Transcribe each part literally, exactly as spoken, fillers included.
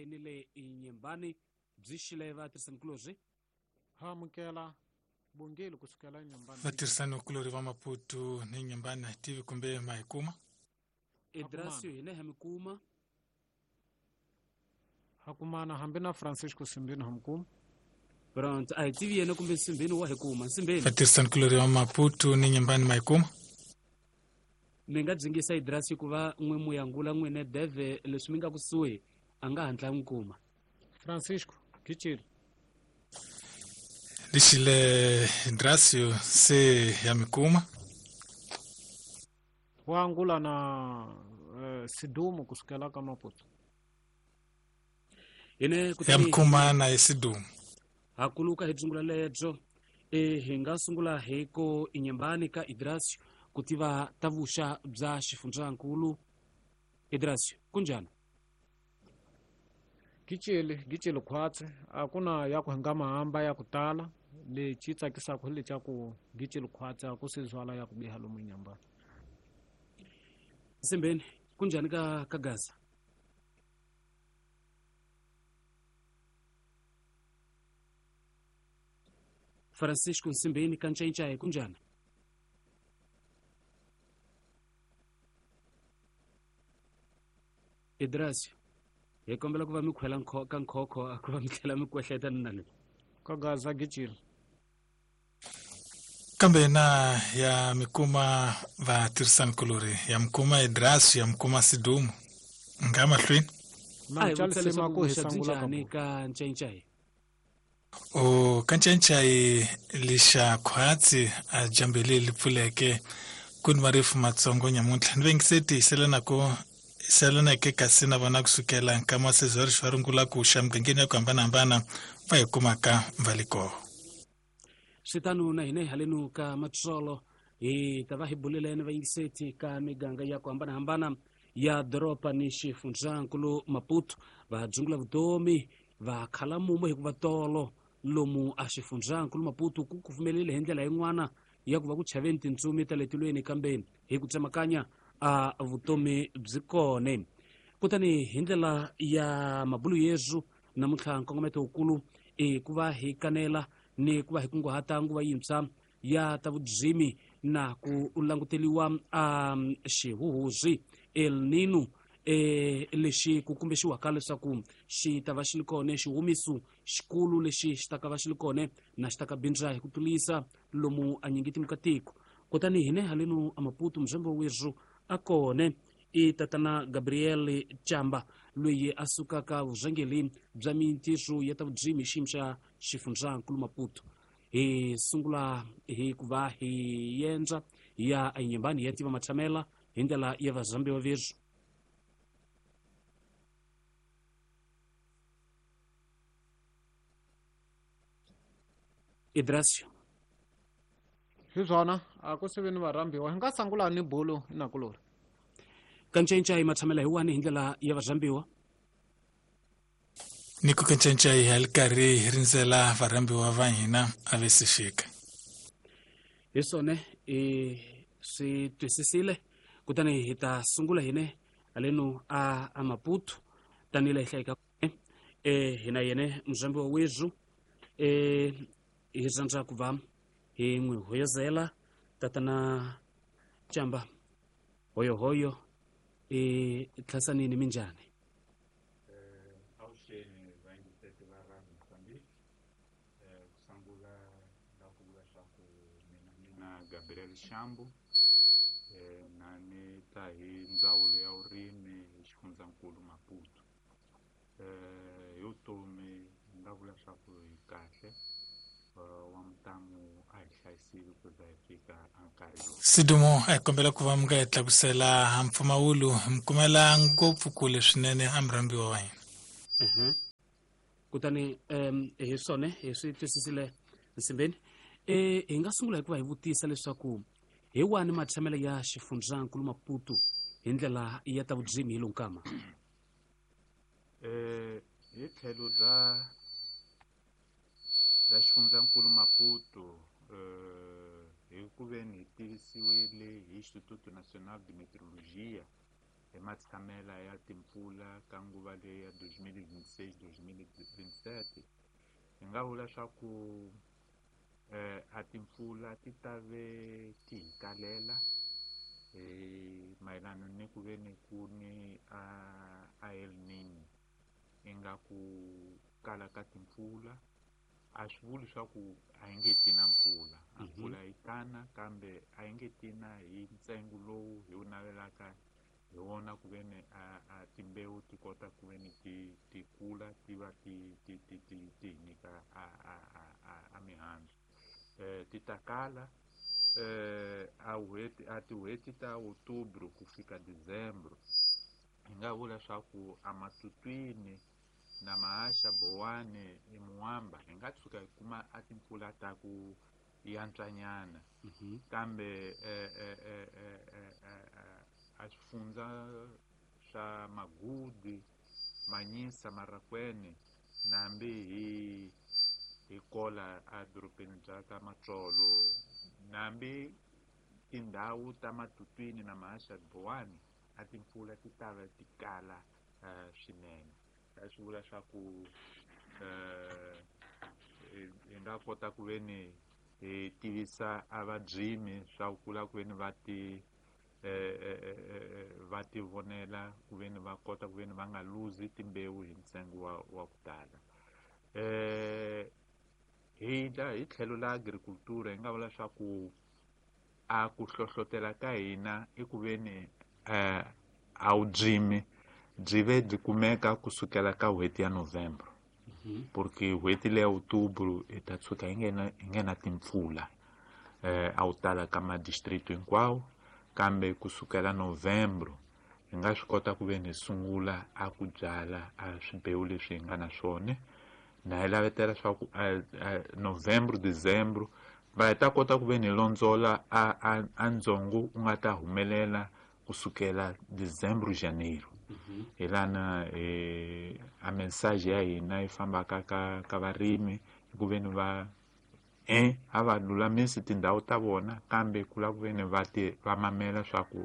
ni le Nyembani byi xile vatirhisanikulorhi. Ha amukela bongeli kusukela Nyembani. Vatirhisanikulorhi va Maputo ni Nyembani a hi tivi kumbe ma hi kuma. Idrasio hina ha mi kuma. Ha kumana hambi na Francisco Simbeni ha mi kuma. Pronto, a hi tivi yena kumbe Simbeni wa hi kuma. Simbeni. Vatirhisanikulorhi va Maputo ni Nyembani ma hi kuma. Mi nga dzingisa Idrasio ku va n'we muyangula n'wine deve leswi mi nga kusuhi a nga hatla n'wi kuma. Francisco, kichile. Lixile Idrasio se ya mi kuma. Wa angula na uh, Sidumo kusukela ka Maputo. Ine ya mi kuma na Sidumo. Ha kuluka hi dzungula lebyo e hi nga sungula hi ko Inyembani ka Idrasio ku tiva ta vuxa bya xifundzankulu. Idrasio, kunjani? Gichele, gichele khwatsi a ku na ya ku nga mahamba ya ku tala lexi tsakisaka hi lexa ku gichele khwatsi a ku se zwala ya ku biha lomu Nyembani. Simbeni, kunjani ka ka Gaza? Francisco Nsimbeni ka Ncayincayi, kunjani? Idrasio, hi kombela ku va mi khwela ka nkhokho a ku va mi tlhela mi kwehleta ni na le. Ka Gaza gichile. Kambe na ya mi kuma vatirhisanikulorhi, ya mi kuma Idrasio, ya mi kuma Sidumo. Nga mahlweni. A hi vutisa leswaku vuxa byi njhani ka Ncayincayi? O ka Ncayincayi lixa khwatsi a jambele li pfuleke ku ni marifu matsongo nyamuntlha ni vengiseti hiselanako selaneke kasi na vona kusukela nkama sezwari xwa rungula ku xa mugangeni ya ku hambanahambana va hi kumaka va le kona. Swi tano na hina hi halenu ka Matsolo hi ta va hi buleleni vayingiseti ka miganga ya ku hambanahambana ya doroba ni xifundzankulu Maputo va dzungula vutomi va khala mumo hikuva tolo lomu a xifundzankulu Maputo ku kufumelile hi ndlela yin'wana ya ku va ku chaveni tintsumi ta le tilweni kambe hi ku tsemakanya a vutomi byi kone. Kutani hi ndlela ya mabulu yesu namuntlha nkongometo wukulu i ku va hi kanela ni ku va hi kunguhata nguva yintshwa ya ta vudzimi na ku languteliwa a xihuhuzi El Nino e lexi ku kumbexiwaka leswaku xi ta va xi li kone xihumiso xikulu lexi xi ta ka va xi li kone na xi ta ka bindza hi ku tlulisa lomu a nyingi timhaka tiko. Kutani hine halenu a Maputo muzembe wezu a kone i tatana Gabriel Chamba loyi a sukaka vurhangeri bya mintirho ya ta vudzimi xiyimo xa xifundzankulu Maputo. Hi sungula hi ku va hi yendza ya Inyembani ya tiva matshamela hi ndlela ya vazambiwa vezu. Idrasio. Hi swona a ku se vi ni varhambiwa hi nga sungula ni bolo inakulori. Ka Ncayincayi matshamela hi wani hi ndlela ya varhambiwa. Ni ku ka Ncayincayi hi li karhi hi rindzela varhambiwa va hina a ve se fika. Hi swona i swi twisisile kutani hi ta sungula hine halenu a a Maputo tanihi hi hlayika e hina yene muzambiwa wezu e hi rhandza ku va hi n'wi hoyozela tatana Chamba hoyohoyo e thlasanini minjhani? Avuxeni vayingiseti va Radio Mozambique. Ku sungula la ku vula swa ku mina mina Gabriel Shambu na ni ta hi ndzawulo ya vurimi hi xifundzankulu Maputo. Hi vutomi ni nga vula swa ku hi kahle wa mutamu a hi hlayisile ku za hi fika nkarhi lowu. Sidumo a hi kombela ku va mi nga hi tlakusela mpfumawulo mi kumela ngopfu kule swinene a murhambiwa wa hina. Uh-huh. Kutani um hi swona hi swi twisisile Nsimbeni. E hi nga sungula hi ku va hi vutisa leswaku hi wani matshamelo ya xifundzankulu Maputo hi ndlela ya ta vudzimi hi lonkama. Eh hi tlhelo bya bya xifundzankulu Maputo eh hi ku veni hi tivisiwile hi Instituto Nacional de Meteorologia hi matshamela ya timpfula ka ka nguva leyi ya dois mil e vinte e seis, dois mil e vinte e sete hi nga vula swa ku eh a timpfula ti ta ve ti hi kalela eh mayelana ni ku ve ni ku ni a a El Niño ingaku kala ka timpfula. A swi vuli swa ku a yi nge ti na mpfula, a mpfula yi tana kambe a yi nge ti na hi ntsengo lowu hi wu navelaka hi wona ku ve ni a, a timbewu ti kota ku ve ni ti ti kula ti va ti ti ti ti ti hi nyika a a a a, a mihandzu. Eh ti ta kala eh a n'hweti a tin'hweti ta Outubro ku fika Dezembro hi nga vula swa ku a Matutwini na Mahaxa, Bowani, Muamba hi nga tshuka hi kuma a timpfula ta ku yantswanyana, kambe eh, eh, eh, eh, eh, eh, a swifundza swa Magudi, Manyisa, Marakwene nambi hi hi kola a dorobeni bya ka Matsolo nambi tindhawu ta Matutwini na Mahaxa, Bowani a timpfula ti ta va ti kala uh, swinene. Swi vula swa ku eh hi nga kota ku ve ni hi tivisa a vabyimi swa ku kula ku ve ni va ti eh va ti vonela ku ve ni va kota ku ve ni va nga luzi timbewu hi ntsengo wa wa ku tala. Eh hi la hi tlhelo la agriculture hi nga vula swa ku a ku hlohlotela ka hina i ku ve ni eh a wu byimi byi ve byi kumeka kusukela ka n'hweti ya November, porque n'hweti leya Outubro hi ta tshuka hi nghena hi nghena timpfula eh a wu tala ka madistrict hinkwawo, kambe kusukela November hi nga swi kota ku ve ni sungula a ku byala a swimbewu leswi hi nga na swona. Na hi lavetela swa ku November, December va hi ta kota ku ve ni londzola a a a ndzongo wu nga ta humelela kusukela December, Janeiro. Hi lana eh a message ya hina yi fambaka ka ka varimi ku ve ni va eh a va lulamisi tindhawu ta vona, kambe ku lava ku ve ni va ti va mamela swa ku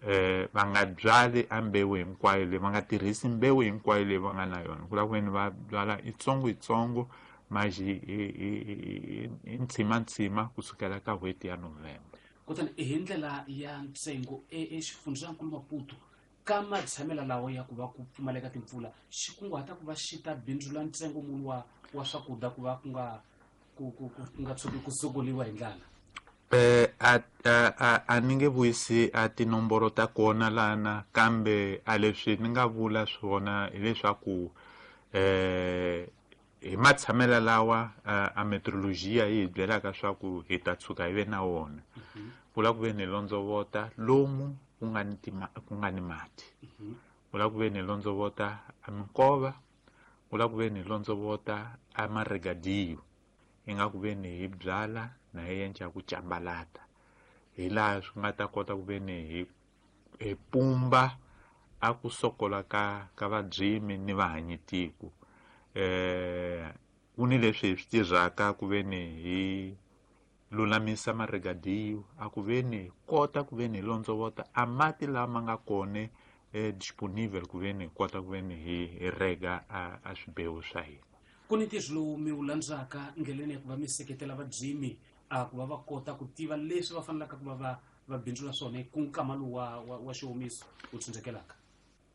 eh va nga byali a mbewu hinkwayo leyi, va nga tirhisi mbewu hinkwayo leyi va nga na yona, ku lava ku ve ni va byala itsongo itsongo maji hi ntshima ntshima kusukela ka n'hweti ya November. Kutani hi ndlela ya ntsengo exifundzankulu Maputo ka matshamela lawa ya ku va ku pfumaleka timpfula xi kunguhata ku va xi ta bindzula ntsengo munhu wa wa swakudya ku va ku nga ku ku ku nga tshuki ku sokoliwa hi ndlala? Eh a a a ni nge vuyisi a tinomboro ta kona lana, kambe a leswi ni nga vula swona hileswaku eh hi matshamela lawa a meteorologia yi hi byelaka swa ku hi ta tshuka hi ve na wona, ku lava ku ve ni londzovota lomu ku nga ni ku nga ni mati, ku lava ku ve ni londzovota a minkova, ku lava ku ve ni londzovota a maregadiyo, hi nga ku ve ni hi byala na hi endla ku cambalata, hi laha swi nga ta kota ku ve ni hi hi pumba a ku sokola ka ka vabyimi ni vahanyitiko. Eh ku ni leswi hi swi tirhaka ku ve ni hi lulamisa maregadiyo a ku ve ni kota ku ve ni londzovota a mati lama nga kona eh disponible ku ve ni kota ku ve ni hi rega a, a swibewu swa hina. Ku ni ntirho lowu mi wu landzaka ndleleni ya ku va mi seketela vabyimi a ku va va kota ku tiva leswi va fanelaka ku va va va bindzula swona ku nkama lowu wa, wa, wa xiwomiso wu tsundzukelaka?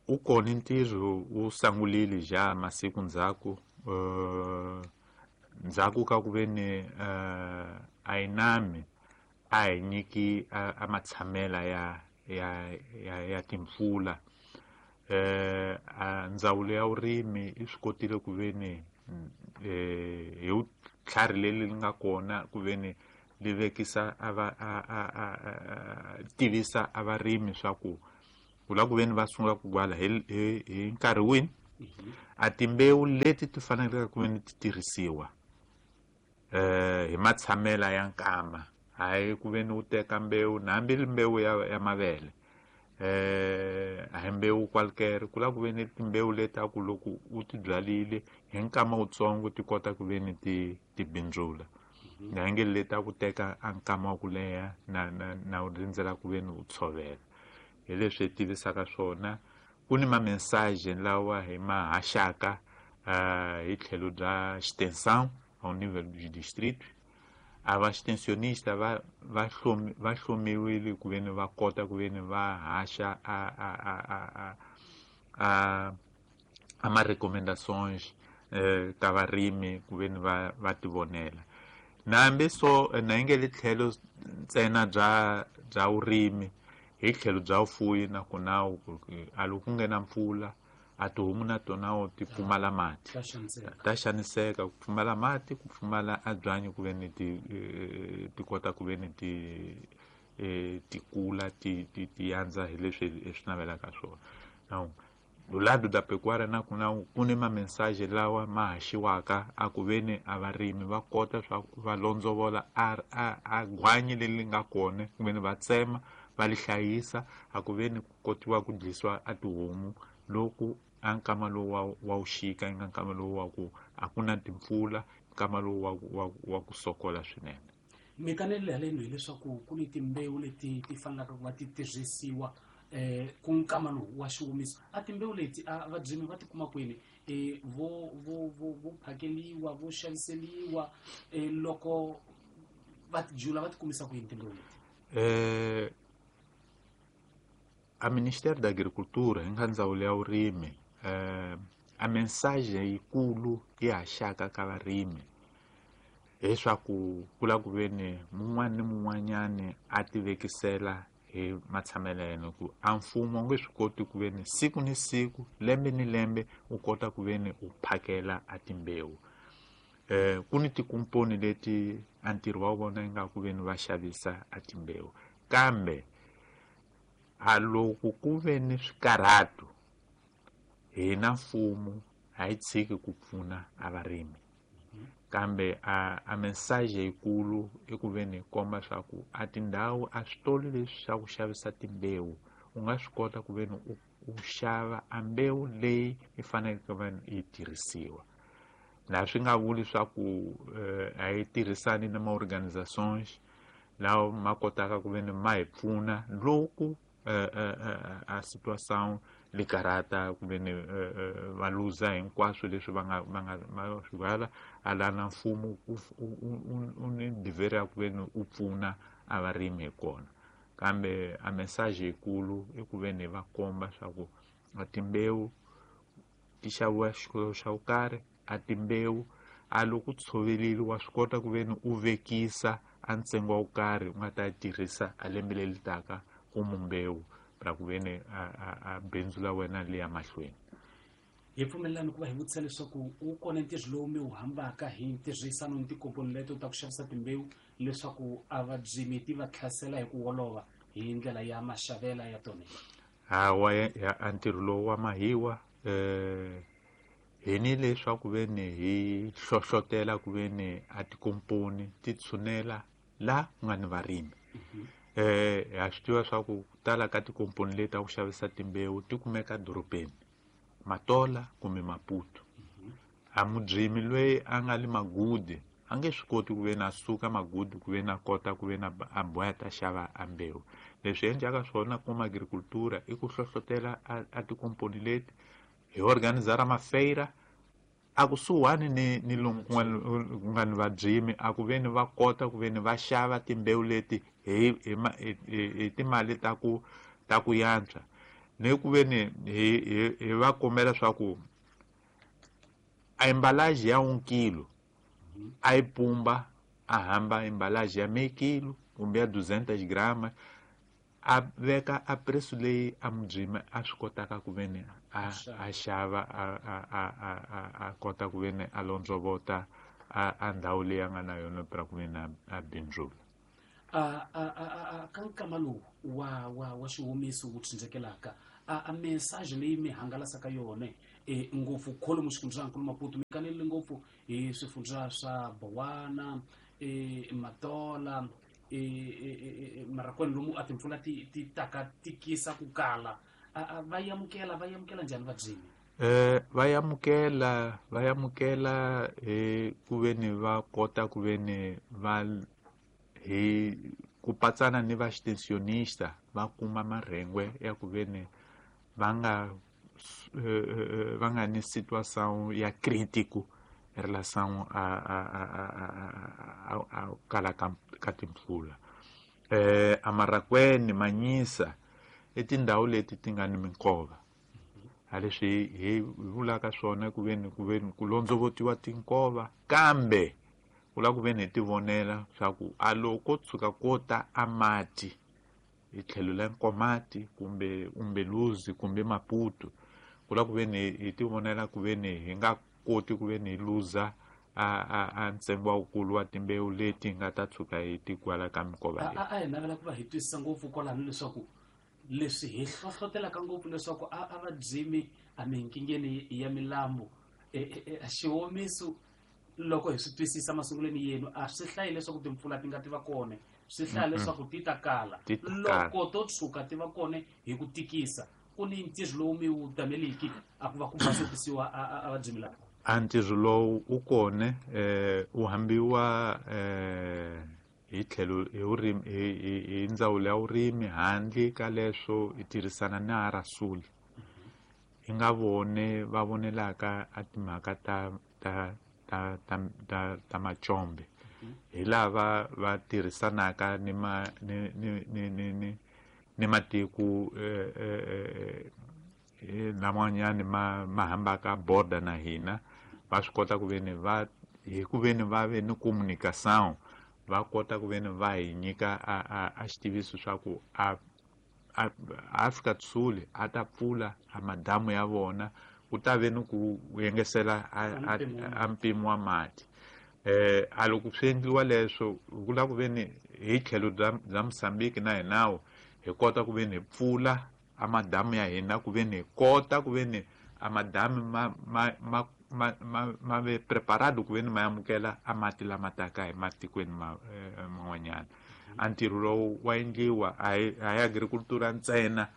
U kona ntirho wu sungulile ja masiku ndzhaku uh, ndzhaku ka ku ve ni uh, a yi nami a hi nyiki a, a matshamela ya ya ya, ya timpfula. Eh a ndzawulo ya vurimi yi swi kotile ku ve ni eh hi tlhari leri li nga kona ku ve ni li vekisa a va a a a tivisa a varimi swa ku ku lava ku ve ni va sungula ku byala hi hi nkarhi wini, a timbewu leti ti faneleke ku ve ni ti tirhisiwa eh hi matshamela ya nkama, hayi ku ve ni u teka mbewu hambi mbewu ya, ya mavele eh a hi mbewu kwalkere, ku lava ku ve ni timbewu leti a ku loko u ti byalile hi nkama wutsongo ti kota ku ve ni ti ti bindzula, na nge leti a ku teka a nkama wa ku leha na na na u rindzela ku ve ni u tshovela. Hi leswi hi tivisaka swona ku ni ma mensagem lawa hi ma haxaka uh, hi tlhelo bya extensão ao nível dos distritos. A va extensionista va va hlomi va hlomiwile ku veni va kota ku veni va haxa a a a a a a a ma recomendações eh, ka varimi ku veni va va tivonela. Nambi so na yi nge le tlhelo ntsena bya bya vurimi, hi tlhelo bya vufuwi na kona a loko ku nghena mpfula a tihomu na tona ti pfumala mati, Ta xaniseka. ta xaniseka ku pfumala mati, ku pfumala a byanyi ku veni ti ti kota ku veni ti ti kula ti ti ti yandza hi leswi hi swi navelaka swona. Now do lado da pecuária na ku na ku ni ma mensagem lawa ma haxiwaka a ku veni a varimi va kota swa va londzovola a a a gwanyi leri nga kona ku veni va tsema va li hlayisa a ku veni ku kotiwa ku dlisiwa a tihomu loku a nkama lowu wa wa wuxika yi nga nkama lowu wa ku a ku na timpfula, nkama lowu wa wa wa ku sokola swinene. Mikanelo haleno hileswaku ku ni timbewu leti ti fanelaka ku va ti tirhisiwa eh ku nkama lowu wa xiwomiso. A timbewu leti a vabyimi va ti kuma kwini? Eh vo vo vo vo phakeliwa, vo xaviseliwa, eh loko va ti jula va ti kumisa ku yini timbewu leti? Eh a Ministério da Agricultura hi nga ndzawulo ya vurimi eh a mensagem yikulu yi haxaka ka varimi hileswaku ku lava ku veni mun'wana ni mun'wanyani a ti vekisela hi matshamelo ya yena, ku a mfumo wu nge swi koti ku veni siku ni siku, lembe ni lembe u kota ku veni u phakela a timbewu. Eh ku ni tikomponi leti a ntirho wa vona yi nga ku veni va xavisa a timbewu, kambe a loko ku ve ni swikarhato hina mfumo a yi tshiki ku pfuna a varimi, kambe a a mensagem yikulu i ku veni hi komba swa ku a tindhawu a switolo leswi swa ku xavisa timbewu u nga swi kota ku veni u u xava a mbewu leyi yi faneleke ku veni yi tirhisiwa. Na swi nga vuli swa ku a yi tirhisani na ma-organizations lawa ma kotaka ku veni ma hi pfuna loko a situação li karata ku veni va luza hinkwaswo leswi va nga va nga va swi byala, a la na mfumo u ni dever ya ku veni u pfuna a varimi hi kona. Kambe a mensagem yikulu i ku veni va komba swa ku a timbewu ti xaviwa xikolo xa ku karhi, a timbewu a loko tshovelile wa swi kota ku veni u vekisa a ntsengo wa ku karhi u nga ta tirhisa a lembe leri taka ku mbewu ra ku veni a a a bindzu la wena li ya mahlweni. Hi pfumelelani ku va hi vutisa leswaku wu kona ntirho lowu mi wu hambaka hi ntirhisano ni tikomponi leto ta ku xavisa timbewu leswaku a vabyimi ti va tlhasela hi ku olova hi ndlela ya maxavela ya tona? Hawa, a ntirho lowu wa mahiwa eh hi ni leswaku veni hi hlohlotela ku veni a tikomponi ti tshunela la ku nga ni varimi. Eh ha swi tiva swa ku tala ka tikomponi leti ta ku xavisa timbewu ti kumeka dorobeni, Matola kumbe Maputo. A mubyimi loyi a nga le Magudi a nge swi koti ku veni a suka Magudi ku veni a kota ku veni a boha ta xava a mbewu. Leswi endlaka swona kuma agricultura i ku hlohlotela a, a tikomponi leti hi organizara mafeira a kusuhani ni ni lomu ku nga ni vabyimi, a ku veni va kota ku veni va xava timbewu leti hi hi hi timali ta ku ta ku yantswa, ni ku veni hi hi hi va kombela swa ku a embalage ya un kilo a yi pumba a hamba embalage ya meio kilo kumbe ya duzentas gramas, a veka a preço leyi a mubyimi a swi kotaka ku veni a a xava a a a a a kota ku veni a londzovota a a ndhawu leyi a nga na yona pra ku veni a bindzula. A a a a ka nkama lowu wa wa wa xiwomiso wu tsindzekelaka a a mensagem leyi mi hangalasaka yona e ngopfu kholomu xifundzankulu Maputo mi kanelile ngopfu hi swifundza swa Bowana, e Matola, e e Marakwene lomu a timpfula ti ti taka tikisa ku kala. A va yamukela va yamukela njhani vabyimi? Eh va yamukela va yamukela hi ku veni va kota ku veni va hi ku patsana ni va extensionista va kuma marhengwe ya ku veni va nga va nga ni situação ya crítico em relação a a a a a kala ka timpfula. Eh Amarakwene, Manyisa i tindhawu leti ti nga ni minkova. A leswi hi vulaka swona ku veni ku veni ku londzovotiwa tinkova, kambe ku lava ku veni hi ti vonela swa ku a loko tshuka ko ta a mati hi tlhelo la Nkomati kumbe Umbeluzi kumbe Maputo, ku lava ku veni hi ti vonela ku veni hi nga koti ku veni hi luza a a a ntsengo wukulu wa timbewu leti nga ta tshuka hi ti kwala ka minkova leyi. A hi navela ku va hi twisisa ngopfu kwalano leswaku leswi hi hlohlotelaka ngopfu leswaku a a va dzimi a minkingeni ya milambu xiwomiso loko hi swi twisisa masungulweni yenu a swi hlayi leswaku timpfula ti nga ti va kona, swi hlaya leswaku ti ta kala. Loko to tshuka ti va kona hi ku tikisa ku ni ntirho lowu mi wu tameliki a ku va ku basokisiwa a va dzimi lava. A ntirho lowu u kona eh u hambiwa eh hi tlhelo hi vurimi hi hi ndzawulo ya vurimi handle ka leswo hi tirhisana na Arasuli hi nga vone va vonelaka a timhaka ta ta ta ta ta ta macombe hi lava va tirhisanaka ni ma ni ni ni ni ni ni matiko eh eh laman'wanyani ma ma hambaka border na hina va swi kota ku veni va hi ku veni va ve ni communication va kota ku veni va hi nyika a a a xitiviso swa ku a a Afrika Sul a ta pfula a madamu ya vona ku ta ve ni ku yengesela a mpimo wa mati. Eh a loko swi endliwa leswo ku lava ku veni hi tlhelo bya bya Mozambique na hinawo hi kota ku veni hi pfula a madamu ya hina ku veni hi kota ku veni a madamu ma ma ma ma ma ma ve preparado ku veni ma amukela a mati lama taka hi matikweni ma man'wanyana. A ntirho lowu wa endliwa a hi a hi agricultura ntsena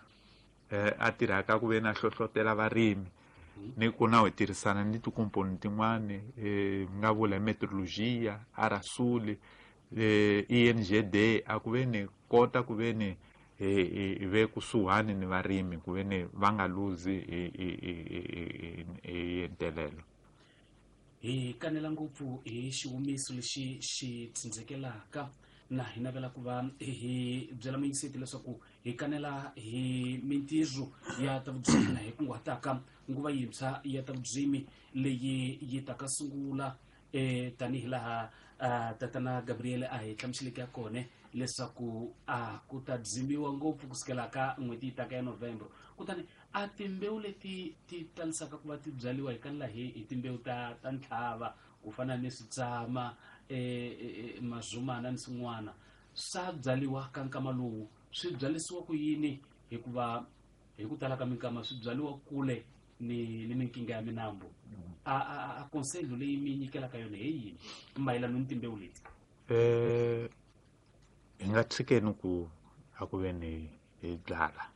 eh a tirhaka ku veni a hlohlotela varimi ni ku na hi tirhisana ni tikomponi tin'wani eh nga vula meteorologia Arasuli eh I N G D a ku veni kota ku veni hi ve kusuhani ni varimi ku veni va nga luzi hi hi hi ntelelo. Hi kanela ngopfu hi xihumiso lexi xi tsindzekelaka na hi navela ku va hi byela muyingiseti leswaku hi kanela hi mintirho ya ta vudzimi na hi kunguhataka nguva yintshwa ya ta vudzimi leyi yi taka sungula eh tanihi laha tatana Gabriel a hi hlamuseleke ya kona leswaku a ku ta dzimiwa ngopfu kusukela ka n'hweti yi taka ya November. Kutani a timbewu leti ti talisaka ku va ti byariwa hi kanela hi hi timbewu ta ta ntlhava ku fana ni switsama eh mazumana ni swin'wana swa byariwa ka nkama lowu swi byalisiwa ku yini hikuva hi ku tala ka minkama swi byariwa kule ni ni minkinga ya minambu. A a a konselo leyi mi nyikelaka yona hi yini mayelana ni timbewu leti? Eh hi nga tshikeni ku a ku veni hi byala.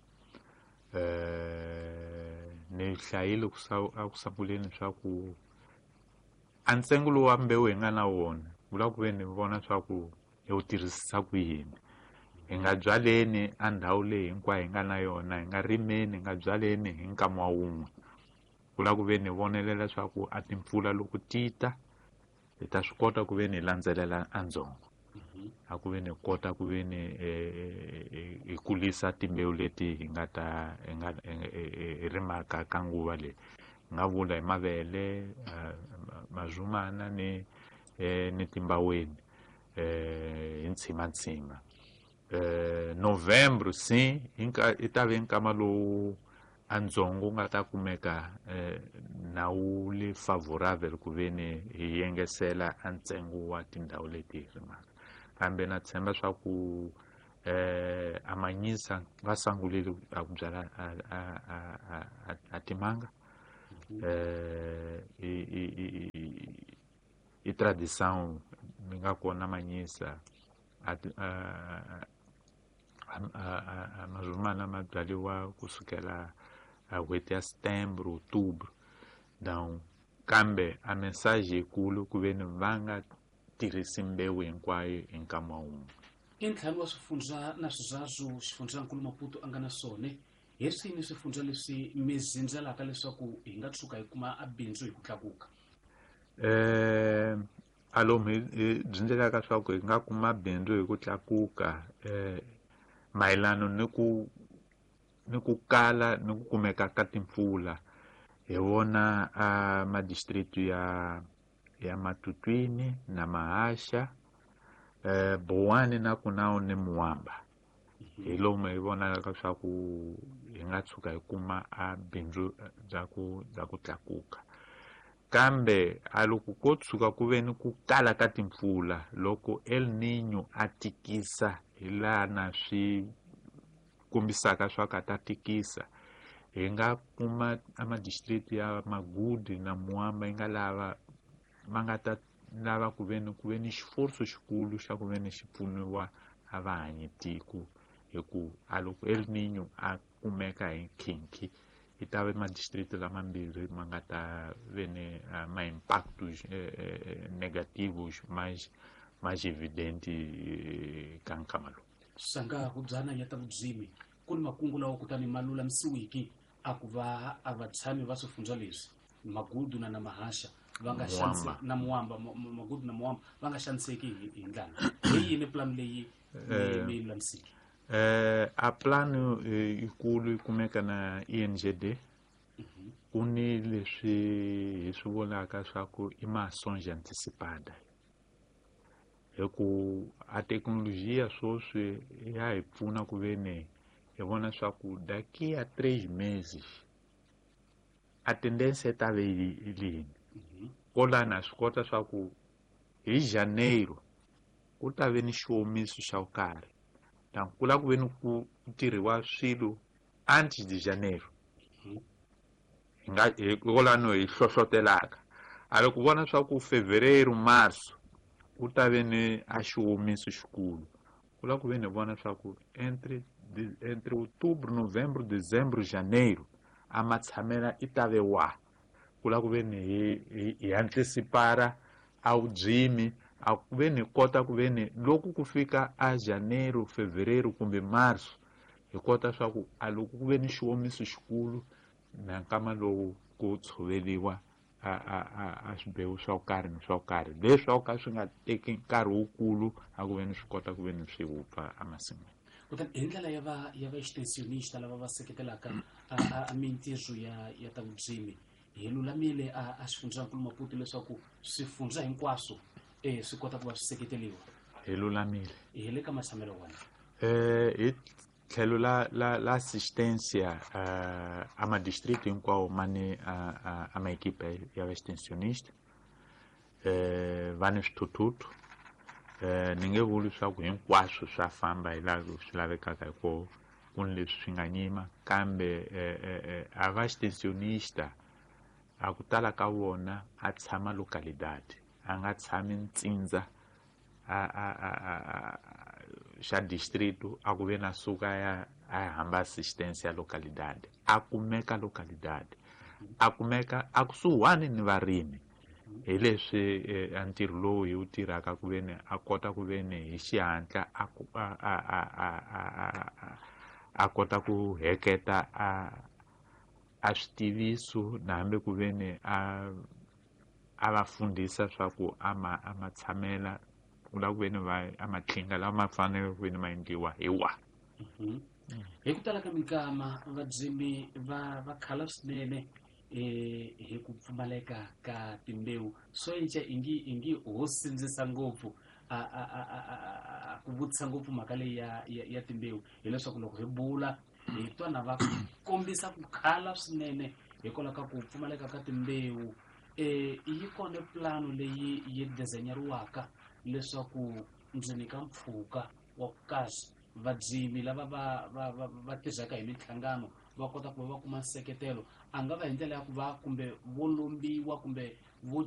Eh ni hlayile ku a ku sunguleni swa ku a ntsengo lowu wa mbewu hi nga na wona vula ku veni vona swa ku hi wu tirhisisa ku yini. Hi nga byaleni a ndhawu leyi hinkwayo hi nga na yona, hi nga rimeni, hi nga byaleni hi nkama wa wun'we. Ku lava ku veni hi vonelela swa ku a timpfula loko ti ta hi ta swi kota ku veni hi landzelela a ndzhongo a ku veni hi kota ku veni hi kulisa timbewu leti hi nga ta hi nga hi rimaka ka nguva leyi. Hi nga vula hi mavele, mazumana ni ni timbaweni hi ntshimantsima. Eh November sim i ta ve nkama lowu a ndzhongo wu nga ta kumeka eh na wu le favorable ku veni hi yengesela a ntsengo wa tindhawu leti hi rimaka. Kambe na tshemba swa ku eh a Manyisa va sungulile a ku byala a a a a timanga eh i i i tradição mi nga kona Manyisa a a mazumana ma byariwa kusukela a n'hweti ya setembro, outubro. Donc kambe a mensagem yikulu ku veni va nga tirhisi mbewu hinkwayo hi nkama wun'we. I ntlhanu wa swifundza na swizazwu xifundzankulu Maputo a nga na swona Hi swini swifundza leswi mi zindzelaka leswaku hi nga tshuka hi kuma a bindzu hi ku tlakuka? Eh alomu hi byindzelaka swa ku hi nga kuma bindzu hi ku tlakuka eh mayelana ni ku ni ku kala ni ku kumeka ka timpfula hi vona a madistrict ya ya Matutwini na Mahasha eh Bowani na Kunao ni Muwamba. Hi lomu hi vonaka swa ku hi nga tshuka hi kuma a bindzu bya ku bya ku tlakuka. Kambe a loko ko tshuka ku ve ni ku kala ka timpfula loko El Niño a tikisa hi laha na swi kombisaka swa ku a ta tikisa hi nga kuma a madistrict ya Magudi na Muwamba yi nga lava ma nga ta lava ku ve ni ku ve ni xiforso xikulu xa ku ve ni xi pfuniwa a va hanyi tiko hi ku a loko El Niño a kumeka hi nkhinkhi yi ta ve madistrict lamambirhi ma nga ta ve ni ma impactos negativos mais mais evidente ka nkama lowu. Sanga hubyana ya ta vudzimi ku ni makungu lawa kutani ma lulamisiwiki a ku va a vatshami va swifundza leswi Magudu na na Mahasha va nga xanise na Muwamba Magudu na Muwamba va nga xaniseki hi ndlala. Hi yini plan leyi mi yi lulamisiki? Eh a plan yikulu yi kumeka na E N G D. Ku ni leswi hi swi vulaka swa ku i mações antecipada. Hi ku a thekinolojiya sweswi ya hi pfuna ku ve ni hi vona swa ku daqui a três meses a tendência ta ve yini. Kolana swi kota swa ku hi janeiro ku ta ve ni xiomiso xa ku karhi. Donc ku lava ku ve ni ku tirhiwa swilo antes de janeiro. Hi nga hikwalano hi hlohlotelaka. A loko vona swa ku fevereiro março ku ta ve ni a xiomiso xikulu. Ku lava ku ve ni vona swa ku entre entre outubro, novembro, dezembro, janeiro a matshamela i ta ve wa. Ku lava ku ve ni hi hi antecipara a vudzimi a ku ve ni kota ku ve ni loko ku fika a janeiro, fevereiro kumbe março hi kota swa ku a loko ku ve ni xiomiso xikulu na nkama lowu ku tshoveriwa a a a a swibewu swa ku karhi ni swa ku karhi leswi ka swi nga teki nkarhi wukulu a ku ve ni swi kota ku ve ni swi wupfa emasin'wini. Kutani hi ndlela ya va ya va extensionista lava va seketelaka a a mintirho ya ya ta vudzimi hi lulamile a a xifundzankulu Maputo leswaku swifundza hinkwaswo eh swi kota ku va swi seketeriwa. Hi lulamile. Hi le ka matshamelo wona. Eh hi tlhelo la la la assistência uh, a ma distrito hinkwawo ma ni a a ma equipe ya extensionista eh va ni swithuthuthu eh ni nge vuli swa ku hinkwaswo swa famba hi laha swi lavekaka hi kona ku ni leswi swi nga nyima kambe eh a va extensionista a ku tala ka vona a tshama localidade a nga tshami ntsindza a a a a xa distrito a ku ve na suka ya a hamba assistência localidade a kumeka localidade a kumeka a kusuhani ni varimi hi leswi a ntirho lowu hi wu tirhaka ku ve ni a kota ku ve ni hi xihatla a a a a a a kota ku heketa a a switiviso na hambi ku ve ni a a va fundisa swa ku a ma a ma tshamela ku lava ku ve ni va a matlhinga lama ma fanele ku ve ni ma endliwa hi wa. Hi ku tala ka minkama vadzimi va va khala swinene eh hi ku pfumaleka ka timbewu swo enca ingi ingi ho sindzisa ngopfu a a a a ku vutisa ngopfu mhaka leyi ya ya timbewu hileswaku loko hi bula hi twa na va kombisa ku khala swinene hikwalaho ka ku pfumaleka ka timbewu. Eh yi kona plano leyi yi design-eriwaka leswaku ndzeni ka mpfhuka wa ku kahle vadzimi lava va va va va tirhaka hi minhlangano va kota ku va va kuma nseketelo a nga va hi ndlela ya ku va kumbe vo lombiwa kumbe vo